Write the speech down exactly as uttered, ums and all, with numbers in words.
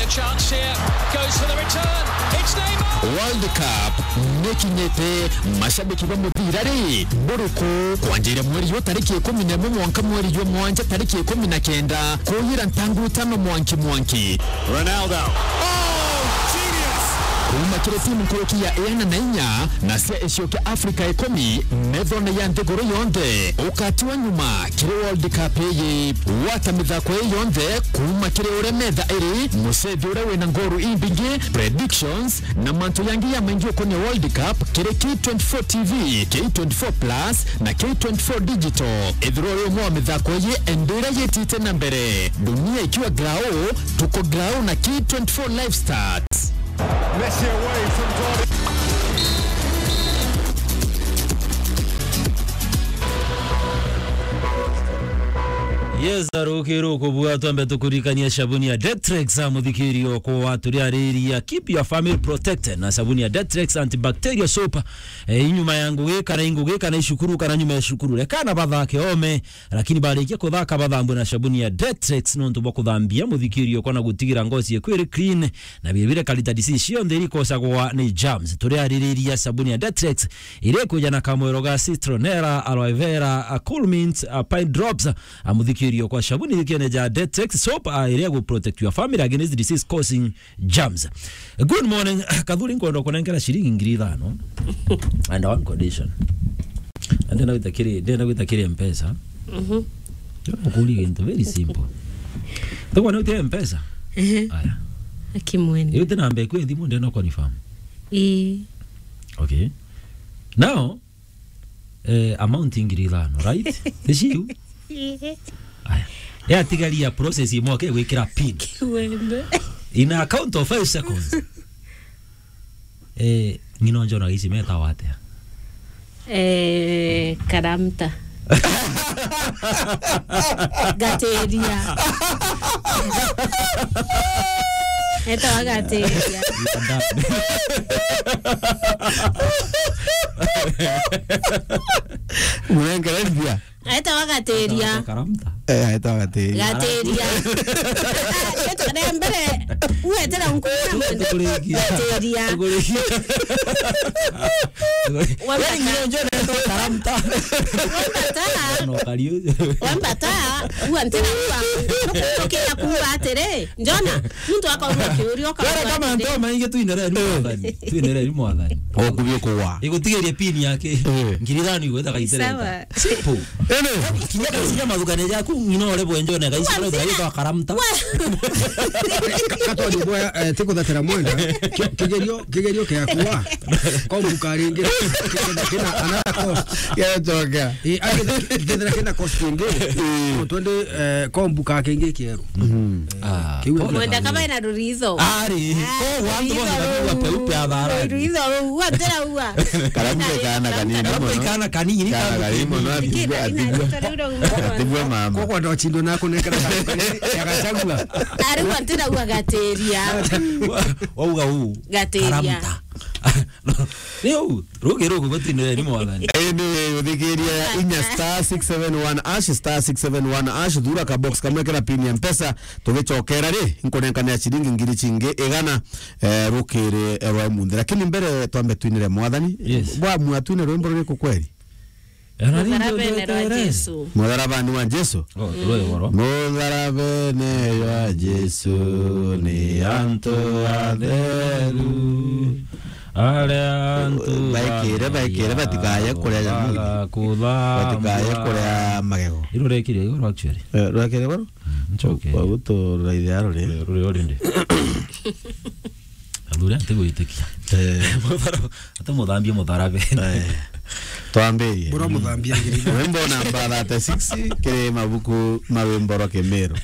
Chance here, goes for the return. It's Neymar. World Cup nikinyite, mashabiki ba muthira ri buriku? Kwanjiria mweri uyu tariki ikumi na imwe mwanka mweri jwa mwanja tariki ikumi na kenda, kuyira ntangu itano mwanki mwanki. Ronaldo. Oh, genius! Kuuma kiri timu nkuruki ya iana na inya na cia icio kia Afrika ikumi, methone ya nthiguru yonthe, ukatiwa nyuma kiri World Cup iyi. Gwata mithako ii yonthe kuuma kiri uria metha iri, mucethi uria wina ngoru imbingi, predictions, na mantu yangi ya maingi ukonia World Cup kiri K twenty-four T V, K twenty-four Plus, na K twenty-four Digital. Ithirwa uri umwe wa mithako ii, endera yitite na mbere. Dunia ikiwa grau, tuko grau na K twenty-four Live Stats. Messi away from goal. Yes, arukiru kubua, twambe tukurikania sabuni ya Detrex, a muthikirio kwa turiariria, keep your family protected na sabuni ya Detrex antibacterial soap. E, inyuma ya ngugi kana ingugi kana icukuru kana nyuma ya cukuru, rekana bathake ome, lakini barikia kuthaka bathambwe na sabuni ya Detrex nontu bwa kuthambia muthikirio kwa na gutigira ngozi yeku iri clean na biria biria karita disease cionthe irikosagwa ni germs. Turiaririria sabuni ya Detrex iria ikuja na kamwero ga citronella, aloe vera, a cool mint, a pine drops, a muthikirio kwa sabuni thikione ja Detrex soap, a iria gu protect your family against disease causing germs. Good morning. Kathuri, nkwenda kunenkera ciringi ngiri ithano and one condition. Ndenda gwita kiri, ndenda gwita kiri Mpesa. Mhm. Ndenda kuria gintu very simple. Tukwa ni utie Mpesa? Ehe. Aya. Akimweni. Iyo ti namba eku ya thimu, ndenda confirm. Ii. Okay. Now, eh, amount ngiri ithano, right? Ti ciu? Ii. Aya. Yatigaria process imwe ke gwikira pin. Wende. In a count of five seconds. Eh, ng'ina njona ici metawa atia? Eh, karamta. Gateria. Etawa gateria. Murengereria. Aetawa gateria. Karamta. Eh, aetawa gateria. Gateria. Etawa mbere, uetera nkuna mwende. Tukurikia. Gateria. Tukurikia. Wambata. Wewe ndio njoo na karamta. Wambata. No, kariu. Wambata, uantera ua. Nukurukia kuuga atiri, Njona, muntu akaurua kiuria, ukaurua atiri. Wera kama ntoma ingi tuinere ni mwathani. Tuinere ni mwathani. Okubio kuwa. Igutigeria pin yake. Eh. Ngiri ithano igwetha gaitera. Sawa. Simple. Ene. Kinya kasinya mathugane jaku, ng'ina ore bwenjone gaicira gaitwa karamta. Wa- Katwari bwa, eh, tikuthatira mwenda. Ki-, kigerio, kigerio kia kuwa. Kombuka ringi. Kina, kina another cost. Yacoka. Eh, agethira kina cost ingi. Eh. Twende, eh, kombuka kingi kieru. Mhm. Ah, kiu pole. Mwenda kama ina ruritho. Ari, ah, ko wantu ruritho bothe ruu. Peupe athara. Ruritho ruu, uatira ua. Karamu ke kana kanini mono. Kana kanini, kana kanini mono, atigwe, atigwe. Atigwe mama. Koko ndo chindo na kunengera kanini, ya Gachagua. Ari uatira ua gateria. Wa-, wauga uu. Gateria. Karamta. Ni uu, rugi rugu gutindire ni mwathani. Indi uthikiria inya star six seven one hash, star six seven one hash, thura ka box kamwe kira pin ya Mpesa, tugicokera ri, nkunenkanira ciringi ngiri cingi igana, eh, rukiri rwa munthi. Lakini mbere twambe twinire mwathani. Yes. Bwa mwa twine rwimbo ruriku kweri? Mutharabene rwa Jesu. Mutharabani wa Jesu? Oh, rwe goro. Mutharabene wa Jesu ni antu atheru. Aria antu baikire, baikire, batikaye kuria nyamuni. Batikaye kuria magego. Iru rekire igoro actually. Eh, rekire igoro? Mm, it's okay. Wa gutura ithe arore. Ruri already. Athuri ati gwitikia. Eh. Muthara-, ati muthambie mutharabe. Eh. Twambirie. Bura muthambia ngiri. Rwimbo namba thirty-six kiri mabuku ma rwimbo rwa Kimiru.